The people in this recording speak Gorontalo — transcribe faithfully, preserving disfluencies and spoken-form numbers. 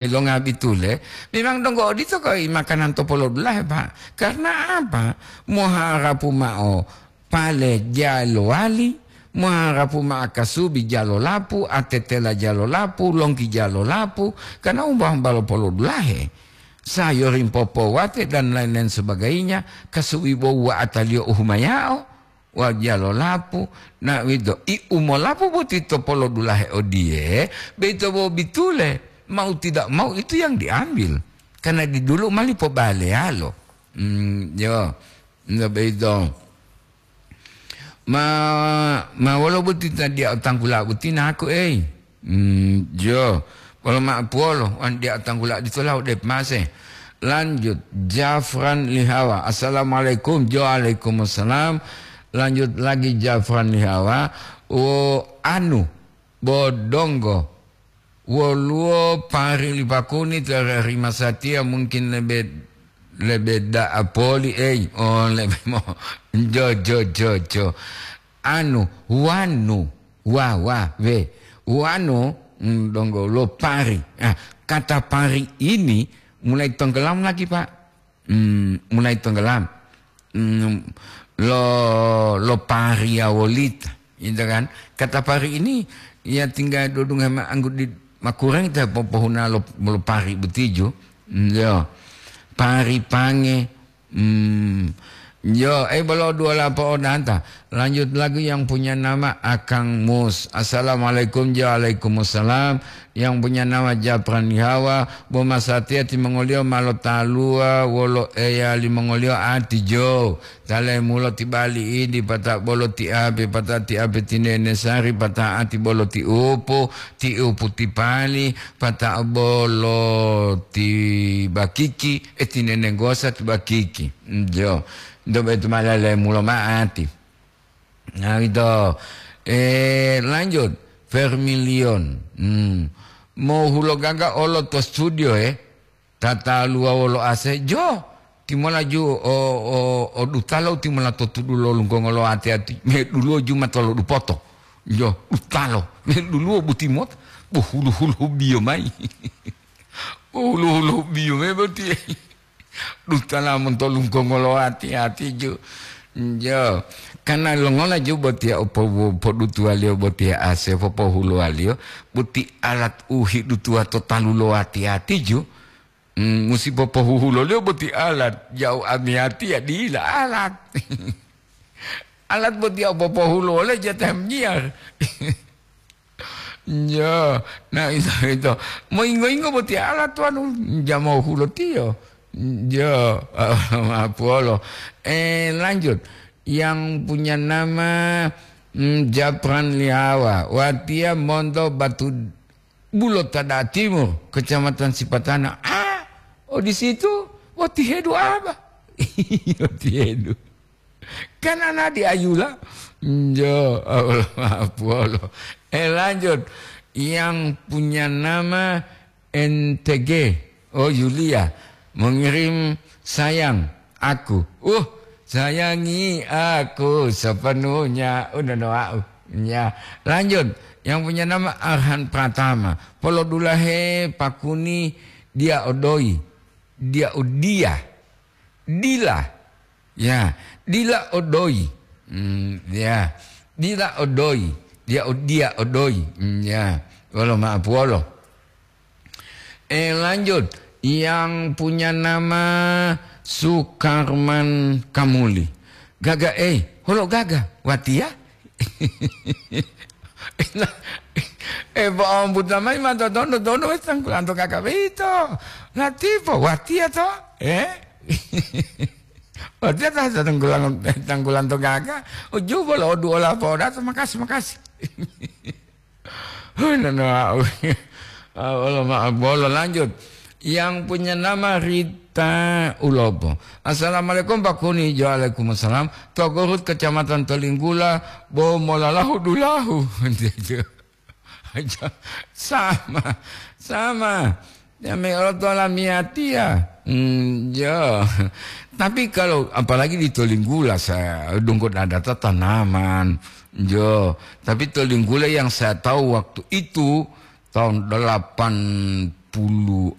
Longa bitule, memang donggo odito koi makanan to polodulahe, Pak. Karena apa? Moharapu ma'o pale jalowali, moharapu ma'o kasubi jalolapu, atetela jalolapu, longki jalolapu, karena umba-umba lo polodulahe. Sayuring popowate dan lain-lain sebagainya, kasubi bo wa'ataliyo uhumayao. Wajalo lapu, na uwito, i umolapu boti to polodulahe odiye, beito bo bitule, mau tidak mau itu yang diambil. Karena di dulu mali pobaleyalo. Hmm, yo, nggak beito. Ma, ma wolo boti tadi otanggula boti naku, ei. Hmm, jo. Polo ma'o puwolo, wan dia tanggula ditola ode mase. Lanjut, Jafran Lihawa. Assalamualaikum. Jo, waalaikumsalam. Lanjut lagi Jafran Lihawa. O, anu, bodonggo. Woluwo pari lipakuni tere rima satiya mungkin lebe, lebe da'a poli, ei. Oh, lebe mo. Jo, jo, jo, jo. Anu, wanu. Wa, wa, we. Wanu, mm, donggo lo pari. Ah, kata pari ini mulai tenggelam lagi, Pak. Hmm, mulai tenggelam. Hmm, lo, lo pari ya wolita, gitu kan. Kata pari ini ya tinggal dudung sama anggut di makurang kita popohuna lo, lo pari betiju. Hmm, yo. Pari pange, Hmm. Yo, eh, bolo dua lapo odanta. Lanjut lagi yang punya nama Akang Mus. Assalamualaikum, jo, waalaikumsalam. Yang punya nama Japran Lihawa, bo masatiya timongoliyo ma lotaluwa wolo eya limongoliyo ati jo. Tale mulo ti bali idi, pata bolo ti ape, pata ti ape tinene sari, pata ati bolo ti upu, ti upu ti pali, pata bolo ti bakiki, eh, tinene gosa ti bakiki. Jo. Nto betu malale mulo ma'ati. Nah, gitu. Eh, lanjut. Vermilion. Hmm. Mau hulo gaga olo to studio, eh. Tataluwa wolo ase, jo. Timolaju o, o, o dutalo timola to tudu lo lunggongo lo ati-ati. Me duluwo juma tolo dupoto. Jo, dutalo. Me duluwo butimota. Bo hulu-hulu biyo mai. Bo hulu-hulu biyo mai boti. Dutala monto lunggongo lo ati-ati ju. Jo. Kana longola ju botiya o po-, podutuwaliyo botiya ase popohuluwaliyo, boti alat u hidutuwa to talu lo ati-ati ju. Hmm, musi popohuhuloliyo boti alat, ja'u amiyatiya dila alat. Alat botiya u popohulo wole jatah miyar. Jo, na ito, ito. Moyingo-yingo boti alat tuanu, jamo hulotiyo. Jo, mapuolo. Eh, lanjut. Yang punya nama, mm, Japran Liawa. Watiya monto Batu Bulo Tada Timur, Kecamatan Sipatana. Ah, oh di situ? Watihedu apa? Watihedu. Kan ana di Ayula. Jo, Allah maaf, Allah. Eh, lanjut. Yang punya nama N T G. Oh, Yulia. Mengirim sayang aku. Uh, sayangi aku sepenuhnya. Udah no aku. Ya, lanjut. Yang punya nama Arhan Pratama. Polodulahe pakuni dia odoi. Dia odia. Dila. Ya, dila odoi. Hmm, ya. Dila odoi. Dia odia odoi. Hmm, ya. Wolo maaf wolo. Eh, lanjut. Yang punya nama Sukarman Kamuli. Gaga, eh, holo gaga. Watiya? Eh, bo'o buta mayi ma totondo-tondo wes tanggulanto gaga boyito. Latipo, watiya to? Eh? Watiya ta tanggulang-, tanggulanto gaga. Uju bolo odu ola poda to, makasi, makasi. Hui, nana, ah, Allah maaf, bolo lanjut. Yang punya nama Rita Ulopo. Assalamualaikum, Pak Kuni. Waalaikumsalam. Togorut, Kecamatan Tolinggula, bo molalahu dulahu. Sama, sama. Ya, me olo to lamiyatiya. Hmm, ya. Tapi kalau apalagi di Tolinggula, saya donggo data tanaman. Jo, tapi Tolinggula yang saya tahu waktu itu tahun delapan puluh